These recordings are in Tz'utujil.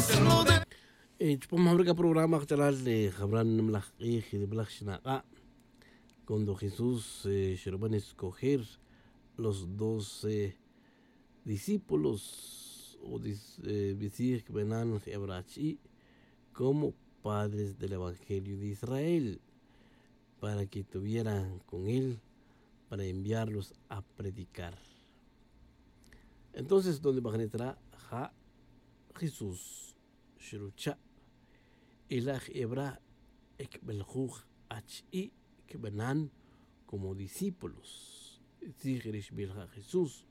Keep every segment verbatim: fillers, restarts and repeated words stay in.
Chupam jawra c'a programa kach'alal jawra nimalaj k'ij nimalaj xnak'a', cuando jesús xruban escoger los doce discípulos o bitzij cbenan jebra' achi'i' como padres del evangelio de israel, para que tuvieran con él para enviarlos a predicar. Entonces donde bajnit ra' ja' jesús xrucha'. Y la' jebra' cbeljuj achi'i' cbanan como discípulos. Tzij ri xbij ja' jesús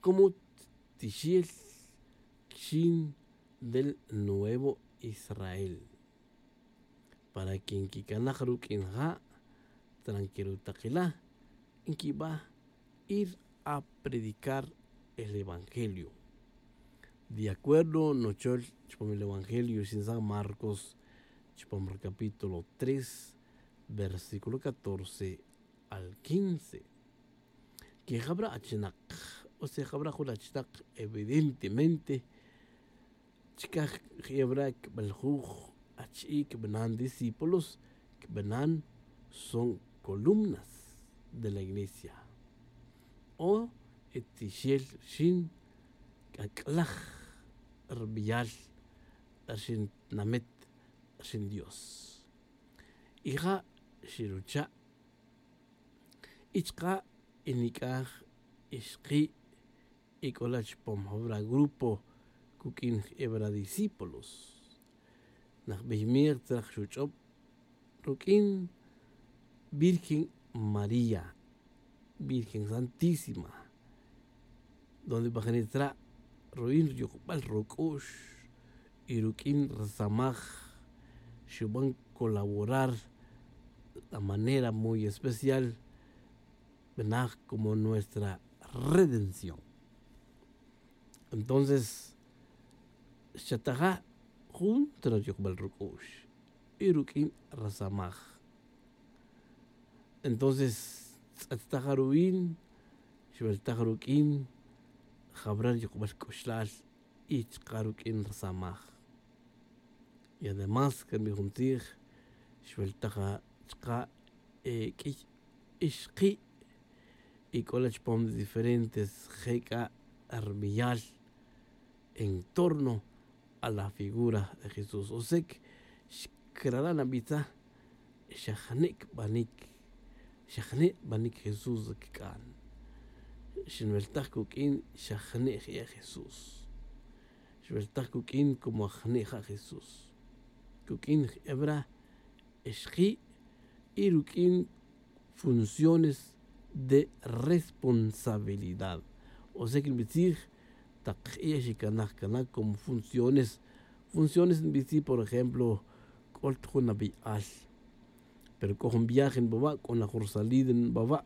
como tixel xin del nuevo israel, para que nquicanaj ruq'uin ja' tranquilo takila nquiba ir a predicar el evangelio. De acuerdo nochol chupam el evangelio xin san marcos chupam ri capítulo tres versículo catorce al quince. Que jabra' achinak o sea jabra' jun achinak evidentemente chicaj jebra' cbeljuj achi'i' cbanan discípulos cbanan son columnas de la iglesia o tixel xin c'ac'laj rbeyal rxin tinamet rxin dios. Y ja' xirucha' y chka' y nic'aj ixki' y c'ola' chupam jawra grupo cuq'uin jebra' discípulos. Najbey mej tzraj xuch'ob ruq'uin virgen maría virgen santísima, donde bajnit ra' ruin riyukbal ruc'u'x y ruq'uin rsamaj xuban colaborar la manera muy especial benaj como nuestra redención. Entonces xchataja' jun tzra riyukbal ruc'u'x y ruq'uin rsamaj. Entonces tz'ettaj ruin xweltaj ruq'uin jabra' riyukbal c'uxlal y chka' ruq'uin rsamaj. Y además can wi jun tzij xweltaj chka' q'uiy ixki' y c'ola' chupam diferentes je c'a rbeyal en torno a la figura de jesús o sea que xcrala' nabitza xa jne' cbanic xa jne' banic jesús cic'an. Xinweltaj cuq'uin xa jne' je' jesús. Xweltaj cuq'uin como aj jne' ja' jesús cuq'uin jebra' ixki' y ruq'uin funciones de responsabilidad. O sea que nbitzij tak j'iya' xicanaj cana como funciones funciones nbitzij por ejemplo c'ol ta jun nabi'al pero c'o jun viaje nbawa' c'o na jun rusalida nbawa'